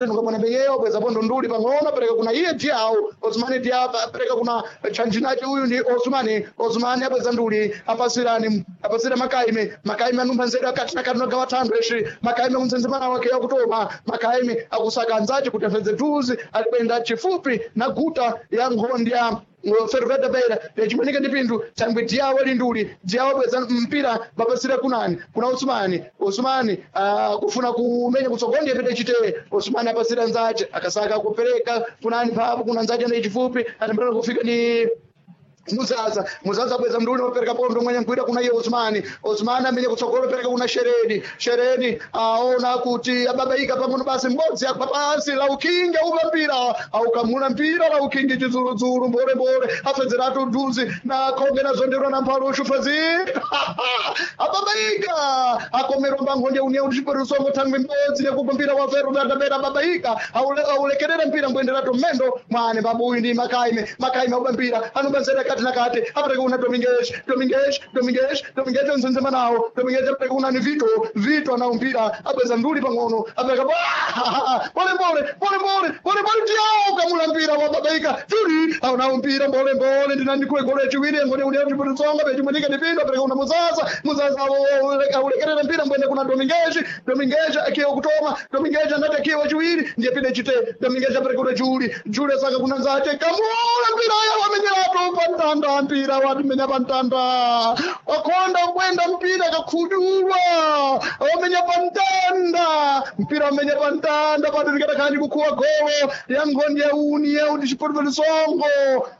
Nukapona penyeyo bweza pondo nduli pang'ono pereka kuna iye Diao Osmani Diao pereka kuna chanjinachi uyu ndi Osmani. Osmani apeza nduli apasirani apasira Makaime. Makaime anumpha nzeru akati nakati nogawa thandu eci Makaime kumtsendzemana wake yakutoma. Makaime akusaka anzace kuti afedze thuzi alikwenda chifupi na guta ya nkhondi ya Ferroviária da Beira yachimanika ndi pinthu thangwe Diawo ali nduli. Diawo bweza mpira mapasira kunani kuna Osmani. Osmani kufuna kumenya kutsogolo ndiye pete chiteye. Osmani apasira nzace akasaka kupereka kunani papo kuna nzace ndi chifupi atambira kufika ni Muzaza. Muzaza bweza mnduli wapereka pondo mwenye nkwira kuna iye Osmani. Osmani amenye kutsogolo pereka kuna Shereni. Shereni aona kuti ababaika pang'ono basi mbodzi agwa pansi la ukinge upa mpira aukamuna mpira la ukinge chidzuludzulu mbole mbole afedzeratu dhuzi na khonge nazonderwa na mphalu ufazi ababaika akomerwa mbankhonde unia kuti chiperisongo thangwe mbodzi nekupa mpira wa Ferroviária da Beira ababaika aulekerera mpira mbwenderatu mmendo mwane babuyu ndi Makaime. Makaime auba mpira anubanzera kati na kati apereka kuna Dominguez. Dominguez, Dominguez, Dominguez nzenzema nawo. Dominguez apereka kuna ni Vito. Vito ana mpira abweza nduli pang'ono apereka pole pole pole pole pole pole Diao kamula mpira wababaika Juli aona mpira mbole mbole ndinani kwe gole chiwiri ngone uli chiputsonga pechimunika ndipindo apereka kuna Muzaza. Muzaza aulekerera mpira mbwende kuna Dominguez. Dominguez akiwa kutoma. Dominguez anati akiwa chiwiri ndiye pide chite. Dominguez apereka kuna Juli. Juli asaka kuna nzate kamula mpira ya wamenyerato pantanda mpira watimenya pantanda wakonda kwenda mpira kakhudulwa wamenya pantanda mpira wamenya pantanda patirikata khani kukhuwa golo ya nkhondi ya uni ya uti chipotipotisongo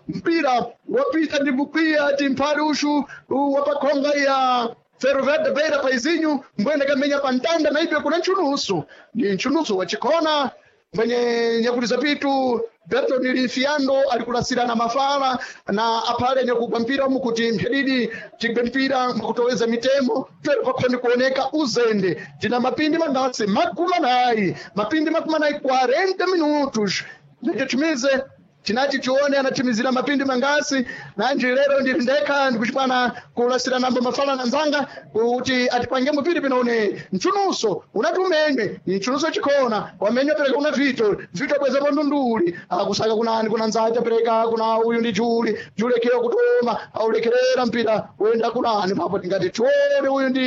mpira wapita ndi kukwiya timphali ushu wapakhonga ya Ferroviária da Beira paizinyu mbwene kamenya pantanda na ibyo kuna nchunusu ni nchunusu wachikhona mwenye nyakuliza pitu Berton Lifiando alikulasirana mafala na aphale nyakugwa mpira umu kuti mphedidi tigwe mpira mwakutoweza mitemo twere pakhoni kuoneka uzende tina mapindi mangasi 40, mapindi 40, 40 minutos ndichitumize tinachi tione anatimizira mapindi mangasi nanji lero ndili ndekha ndikuchipana kulasira nambo mafala na nzanga kuti atipange mupiri pinaone mchunuso unati umenywe ni mchunuso chikhona wamenywa pereka kuna Vito. Vito bweza ndunduli akusaka kunani kuna nzacha pereka kuna uyu ndi Juli. Juli akiwa kutoma aulekerera mpira wenda kunani papo tingati tione uyu ndi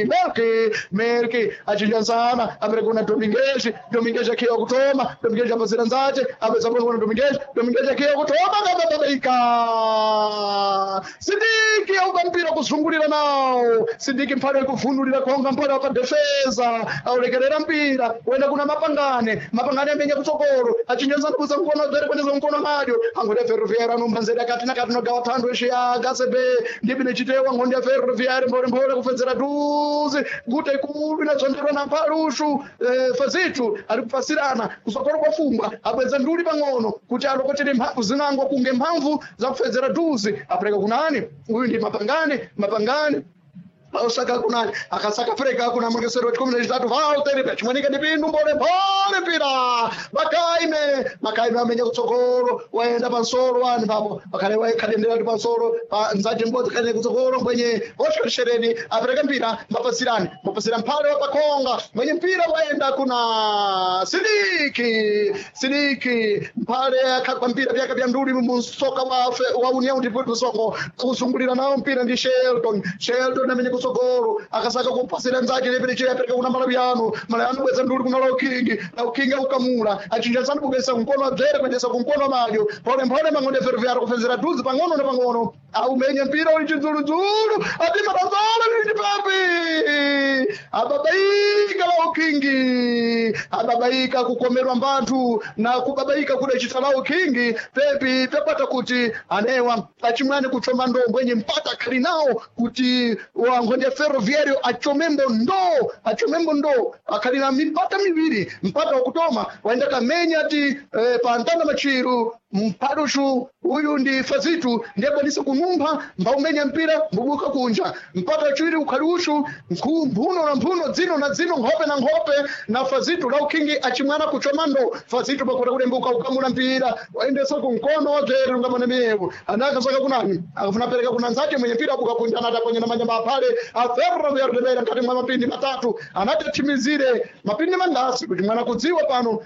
Melki. Melki achinjansana apereka kuna Dominguez. Dominguez akiwa kutoma. Dominguez apasira nzache apeza kuna Dominguez. Dominguez akiwa kutoma kababaika Sidiki auka mpira kuzungulira nawo Sidiki mphale kuvunulira konga mphale wapa defesa aulekerera mpira wenda kuna Mapangane. Mapangane amenya kutsogolo achinjansana kuza mkono dzere kwendeza mkono madyo angode Ferroviária anombanzera kati na kati nogawa thandu eshe ya gasebe ndipi nechitewa ngondi ya Ferroviária mbole mbole kufedzera duzi guta ikulu inazonderwa na mphalushu fazitu ari kupasirana kusokolo kwa fumbwa abweza nduli pang'ono kuti alokotere mphamvu zinango kunge mphamvu za kufedzera duzi apereka kunani uyu ndi Mapangane. Mapangane osaka kunani akasaka pereka kuna mwekesero wa 13 Valter pachimwanika ndi pindu mbole mbole mpira Makaime. Makaime amenya kutsogolo waenda pansolo wani papo pakhale waikhalendera ndi pansolo pa nzache mbodzi khale kutsogolo mwenye Oscar Shereni apereka mpira mapasirani mapasira mphale wa pakhonga mwenye mpira waenda kuna Sidiki. Sidiki mphale akhagwa mpira vyaka vya nduli musoka wa União de Porto Songo kuzungulira nawo mpira ndi Shelton. Shelton amenya kutsogolo akasaka kupasira nzake lepere cheye apereka kuna Malawiano. Malawiano bweza nduli kuna Laukingi. Laukingi aukamula achinjansana kubweza kumkono wabzere kuendesa kumkono madyo pole mpole mang'ondo ya Ferroviária kufenzera duzi pang'ono na pang'ono aumenye mpira uli chidzuludzulu atima tanzala lili papi ababaika Laukingi ababaika kukomerwa mbanthu na kubabaika kudachita Laukingi pepi pepata kuti anewa achimwani kuchoma ndombo enye mpata khali nawo kuti wankhonde ya Ferroviário achomembo ndo achomembo ndo akhali na mipata miwiri mpata wakutoma waenda kamenya ti pa ntanda machiru Mpaduxu uyu ndi Fazitu, ndiye akwanisa kunumpha mbaumenya mpira mbubuka kunja. Mpata chiwiri ukhali uxu, mphuno na mphuno, dzino na dzino, nkhope na nkhope na Fazitu Laukhingi achimwana kuchomando. Fazitu pakuta kulembuka kukamula mpira waendesa kumkono wadzere ungamane miyewo anakasaka kunani akafuna pereka kuna nzake mwenye mpira abuka kunja, anataponya na manyamba aphale aferro kuyarudebera mkati mwa mapindi 3 anatathimizire mapindi mandasi kuti mwana kudziwa pano.